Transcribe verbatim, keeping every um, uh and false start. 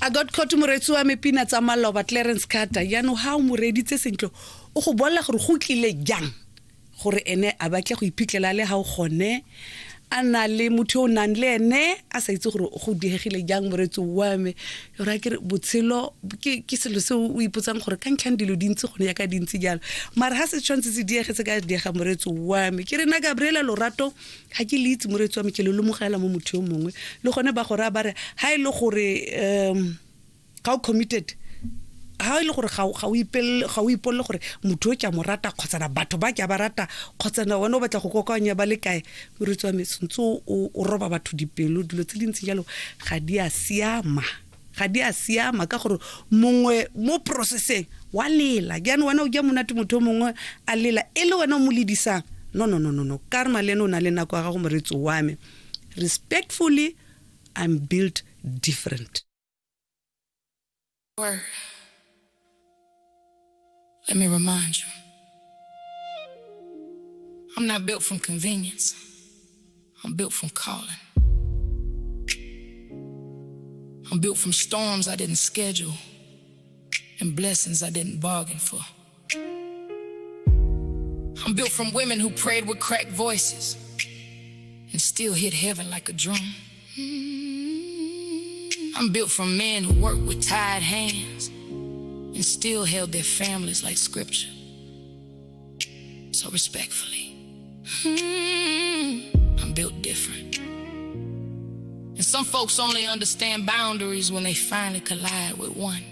I got caught moretsi wa me pina tsa maloba Clarence Carter. Jaanong ha o mo reeditse sentle o go bolela gore go tlile jang gore ene a batle go iphitlhela le ga o gone a na le motho o nang le ene a sa itse gore go diegile jang moretsi wa me. Yora ke re botshelo ke ke selo se o ipotsang gore ka ntlhang dilo dintsi gone yaka dintsi jalo, mara ha se tshwanetse se diegetse ka diega moretsi wa me. Ke re nna Gabriela lorato ga ke le itse moretsi wa me, ke le lomogela mo motho yo mongwe le gone ba gore ba re ha e le gore um ga o committed, ha e le gore ga o ga o ipelle ga o ipolle gore motho o ke a mo rata kgotsana batho ba ke a ba rata kgotsana wena o batla go kokoanya ba le kae, moretsi wa me sentse o o roba batho dipelo. Dilo tse dintsi jalo ga di a siama, ga di a siama ka gore mongwe mo processeng wa lela jaanong wena o ja monate motho o mongwe a lela e le wena o mo ledisang. No no no no no, karma le ene o na le nako ya gago moretsi wa me. Respectfully, I'm built different. Word. Let me remind you, I'm not built from convenience. I'm built from calling. I'm built from storms I didn't schedule and blessings I didn't bargain for. I'm built from women who prayed with cracked voices and still hit heaven like a drum. I'm built from men who worked with tired hands and still held their families like scripture. So respectfully, I'm built different. And some folks only understand boundaries when they finally collide with one.